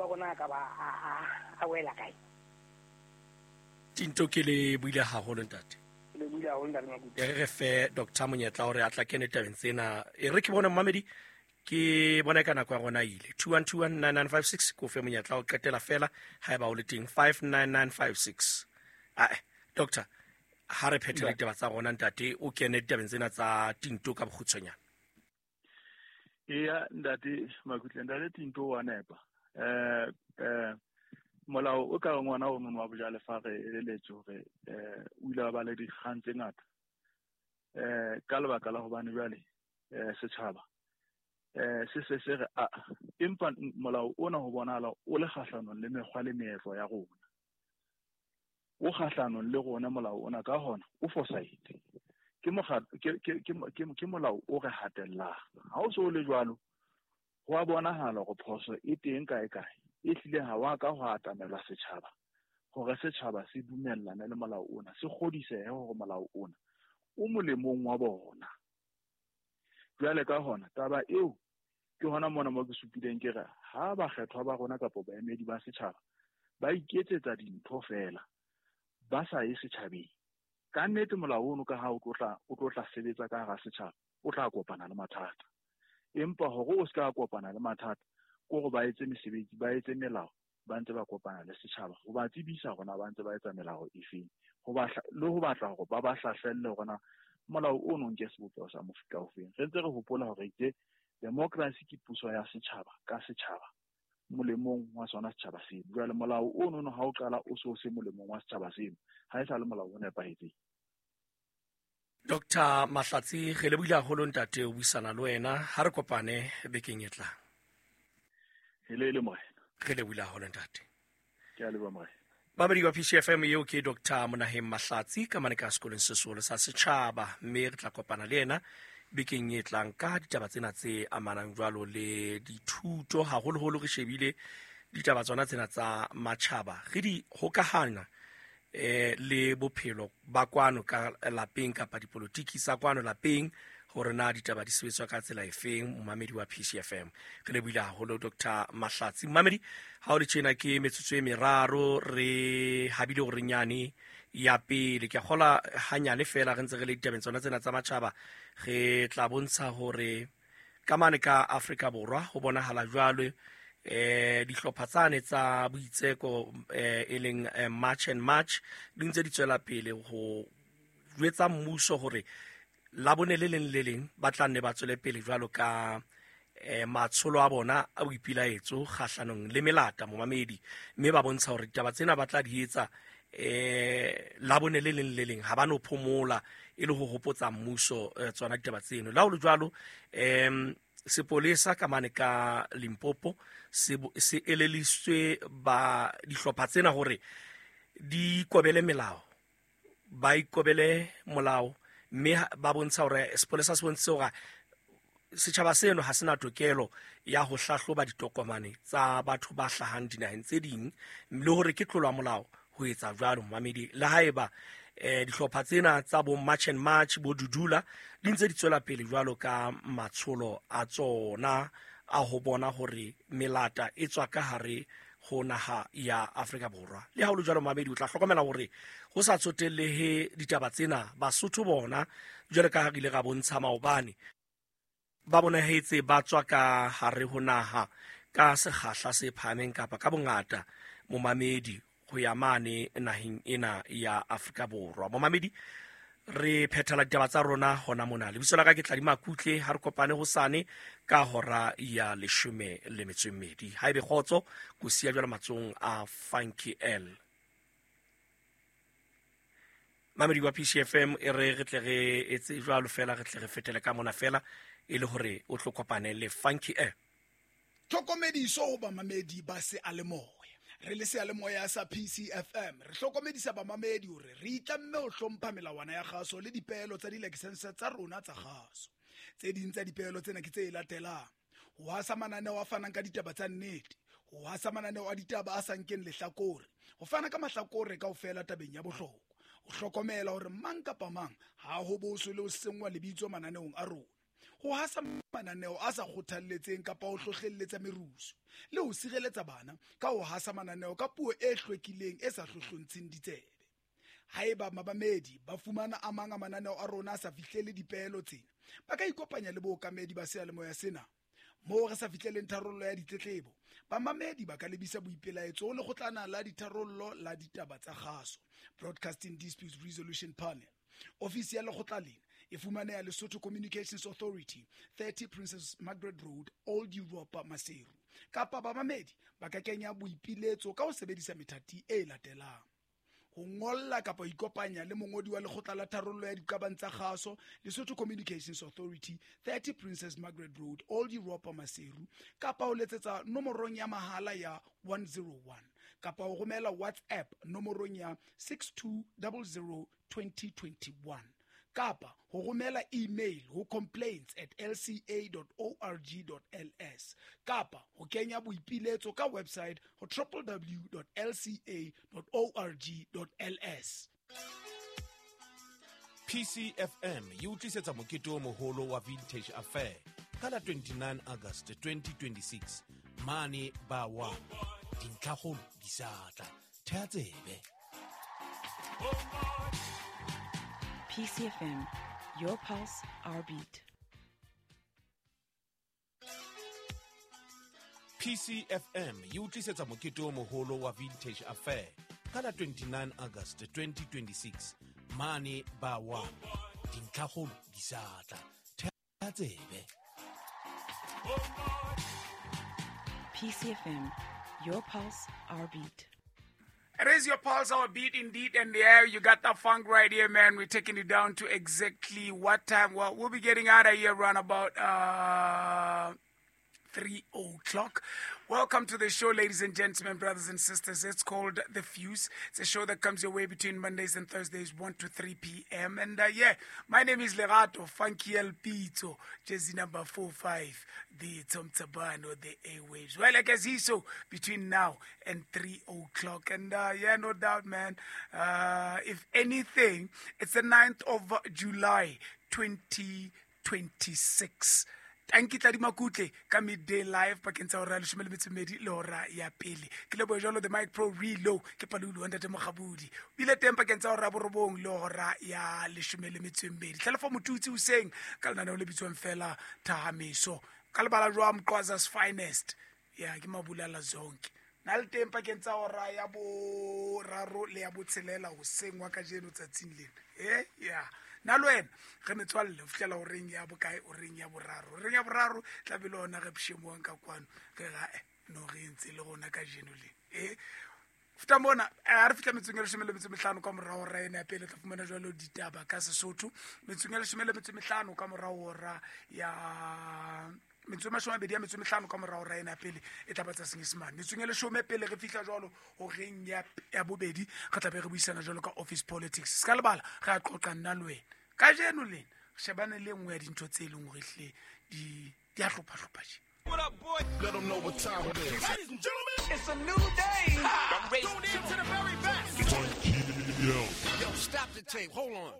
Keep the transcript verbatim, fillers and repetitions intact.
maikutlo a rona a ka ba a wela kae. Tinto ke le buile haholo ntate. Le buile haholo ntate Makutle. E re fe Doctor monyetla hore a tla kene tabeng tsena. E re ke bone mmamedi ke bona ka nako ya rona ile two one two one nine nine five six ko fe monyetla o qetela fela haeba o le teng five nine nine five six. Ah doctor ha re phethele ditaba tsa rona ntate o kene ditabeng tsena tsa Tinto ka bokgutshwanyane. Eya ntate Makutle, ntate Tinto wa nepa. Eh eh molao o ka ngwana o nona wa bojalefa re eleletse hore eh o ile wa ba le dikgang tse ngata eh ka lebaka la hobane jwale eh setjhaba eh se se se re a empa molao ona ho bonahala o le kgahlanong le mekgwa le meetlo ya rona, o kgahlanong le rona molao ona, ka hona o fosahetse. Ke ke ke ke molao o re hatellang. Ha o so le jwalo ho a bonahala hore phoso e teng kae kae, e hlile ha wa ka ho atamelwa setjhaba hore setjhaba se dumellane le molao ona, se kgodisehe hore molao ona o molemong wa bona. Jwale ka hona taba eo ke hona mona mo ke supileng ke re ha bakgethwa ba rona kapa baemedi ba setjhaba ba iketsetsa dintho fela ba sa ye setjhabeng, ka nnete molao ono ka ha o tlo tla o tlo tla sebetsa ka hara setjhaba o tla kopana le mathata. Empa hore o ska kopana le mathata ko go ba etse mesebetsi, ba etse melao ba ntse ba kopana le setjhaba ho ba tsebisa rona ba ntse ba etsa melao efeng, ho ba le ho batla hore ba ba hlahlelle hore molao ono nke sebopeho sa mofuta ofeng. Re ntse re hopola hore itse democracy ke puso ya setjhaba ka setjhaba molemong wa sona setjhaba seno. Jwale molao ono ha o qala o so se molemong wa setjhaba seno, ha e sa le molao o nepahetseng. Doctor Mahlatsi, re lebohile haholo ntate o buisana le wena. Ha re kopane bekeng e tlang. Hele le morena. Re lebohile haholo ntate. Ke a leboha morena. Babedi wa P C F M eo ke Doctor Monaheng Mahlatsi ka mane ka sekolong se seholo sa setjhaba, mme re tla kopana le yena bekeng e tlang ka ditaba tsena tse amanang jwalo le dithuto, haholoholo re shebile ditaba tsona tsena tsa matjhaba re di hokahana eh le bophelo ba kwano ka lapeng kapa dipolotiki tsa kwano lapeng, hore na ditaba di sebetswa ka tsela efeng. Momamedi wa P C F M, re lebohile haholo Doctor Mahlatsi. Momamedi, ha o le tjena ke metsotso e meraro re habile hore nyane ya pele ke a kgola hanyane fela re ntse re le ditabeng tsona tsena tsa matjhaba, re tla bontsha hore ka mane ka Afrika Borwa ho bonahala jwalo eh dihlopha tsane tsa boitseko eh e leng March and March di ntse di tswela pele ho jwetsa mmuso hore la bone le leng le leng ba tla nne ba tswele pele jwalo ka eh matsholo a bona a boipilaetso kgahlanong le melata momamedi, mme ba bontsha hore ditaba tsena ba tla di etsa eh la bone le leng le leng, ha ba no phomola e le ho hopotsa mmuso tsona ditaba tseno. La ho le jwalo em sepolesa ka mane ka Limpopo se se eleliswe ba dihlopha tsena hore di ikobele melao, ba ikobele molao, mme ba bontsha hore sepolesa se bontsha hore setjhaba seno ha sena tokelo ya ho hlahloba ditokomane tsa batho ba hlahang dinaheng tse ding, le hore ke tlolo ya molao ho etsa jwalo momamedi. Le haeba eh dihlopha tsena tsa bo March and March bo Dudula di ntse di tswela pele jwalo ka matsholo a tsona a ho bona hore melata e tswa ka hare ho naha ya Afrika Borwa. Le ha ho le jwalo momamedi, o tla hlokomela hore ho sa tsotellehe ditaba tsena, Basotho bona jwalo ka ha re ile ra bontsha maobane ba bonahetse ba tswa ka hare ho naha ka sekgahla se phahameng kapa ka bongata momamedi ho ya mane naheng ena ya Afrika Borwa. Momamedi, re phethela ditaba tsa rona hona mona. Lebitso la ka ke Tladi Makutle, ha re kopane hosane ka hora ya leshome le metso e mmedi. Haebe kgotso, ko siya jwalo matsohong a Funky L. Mamedi wa P C F M, e re re tle re etse jwalo fela, re tle re fetele ka mona fela e le hore o tlo kopane le Funky L. Tlhokomediso ho bamamedi ba seyalemoya. Re le seyalemoya sa P C F M re hlokomedisa bamamedi hore re itlamme ho hlompha melawana ya kgaso le dipeelo tsa dilakesense tsa rona tsa kgaso. Tse ding tsa dipeelo tsena ke tse latelang: ho hasa mananeo a fanang ka ditaba tsa nnete, ho hasa mananeo a ditaba a sa nkeng lehlakore, ho fana ka mahlakore kaofela tabeng ya bohlokwa, ho hlokomela hore mang kapa mang ha ho boswe le ho senngwa lebitso mananeong a rona, ho hasa mananeo a sa kgothalletseng kapa ho hlohlelletsa merusu, le ho sireletsa bana ka ho hasa mananeo ka puo e hlwekileng e sa hlohlontsheng ditsebe. Haeba mamamedi ba fumana a mang a mananeo a rona a sa fihlele dipeelo tsena, ba ka ikopanya le bookamedi ba seyalemoya sena. Moo re sa fihleleng tharollo ya ditletlebo, bamamedi ba ka lebisa boipelaetso ho lekgotlana la ditharollo la ditaba tsa kgaso, Broadcasting Disputes Resolution Panel. Ofisi ya lekgotla lena e fumaneha Lesotho Communications Authority, thirty Princess Margaret Road, Old Europa, Maseru. Kapa bamamedi ba ka kenya boipiletso ka ho sebedisa methati e latelang: ho ngolla kapa ho ikopanya le mongodi wa lekgotla la tharollo ya diqabang tsa kgaso, Lesotho Communications Authority, thirty Princess Margaret Road, Old Europa, Maseru, kapa ho letsetsa nomorong ya mahala ya one zero one, kapa ho romela WhatsApp nomorong ya six two zero zero twenty twenty-one, kapa ho romela email ho complaints at l c a dot org dot l s, kapa ho kenya boipiletso ka website ho w w w dot l c a dot org dot l s. P C F M e o tlisetsa mokete o moholo wa Vintage Affair ka la twenty-nine August twenty twenty-six mane ba wa dintlhakgolo di sa tla. Thea tsebe. P C F M, your pulse, our beat. P C F M e o tlisetsa mokete o moholo wa Vintage Affair ka la twenty-nine August twenty twenty-six mane ba wa dintlhakgolo di sa tla. Thea tsebe. P C F M, your pulse, our beat. It is your pulse, our beat indeed, and yeah, you got the funk right here, man. We're taking it down to exactly what time? Well, we'll be getting out of here around about uh, three o'clock. Welcome to the show, ladies and gentlemen, brothers and sisters. It's called The Fuse. It's a show that comes your way between Mondays and Thursdays, one to three p m. And uh, yeah, my name is Lerato Funky El Pito, jersey number four five, the Tom Tabano, the Airwaves. Well, like I see, so between now and three o'clock. And uh, yeah, no doubt, man. Uh, if anything, it's the ninth of July, twenty twenty-six. Tanki Tladi Makutle ka midday live pakeng tsa hora ya leshome le metso e mmedi le hora ya pele. Ke leboha jwalo the Mic Pro Relo ke Palulu wa Ntate Mokgabudi. O bile teng pakeng tsa hora ya borobong le hora ya leshome le metso e mmedi. Tlhalefo Motutsi hoseng ka lenaneo le bitswang fela Thahameso. Ka lebala jwa Mqwaza's finest. Ya ke Mabulala Zonke. Na le teng pakeng tsa hora ya boraro le ya botshelela hoseng wa kajeno tsatsing lena. Eh ya. Na le wena re metswalle ho fihlela horeng ya bokae, horeng ya boraro. Horeng ya boraro tla be le hona re pshemoang ka kwano, re ra eh no re ntse le rona kajeno le. Eh feta mona ha re fihla metsong ya leshome le metso e mehlano ka morao hora ena ya pele, tla fumana jwalo ditaba ka Sesotho. Metsong ya leshome le metso e mehlano ka morao hora ya metso e mashome a mabedi a metso e mehlano ka morao hora ena ya pele e tla ba tsa Senyesemane. Metsong ya leshome pele re fihla jwalo horeng ya ya bobedi, re tla be re buisana jwalo ka office politics. Se ka lebala re a qoqa nna le wena kajeno lena re shebane le nngwe ya dintho tse leng hore hle di di a hlopha-hlopha tje. What up, boy? Let them know what time it is. Ladies and gentlemen, it's a new day. Ha! I'm tune in to the very best. Yo. Yo, stop the tape. Hold on.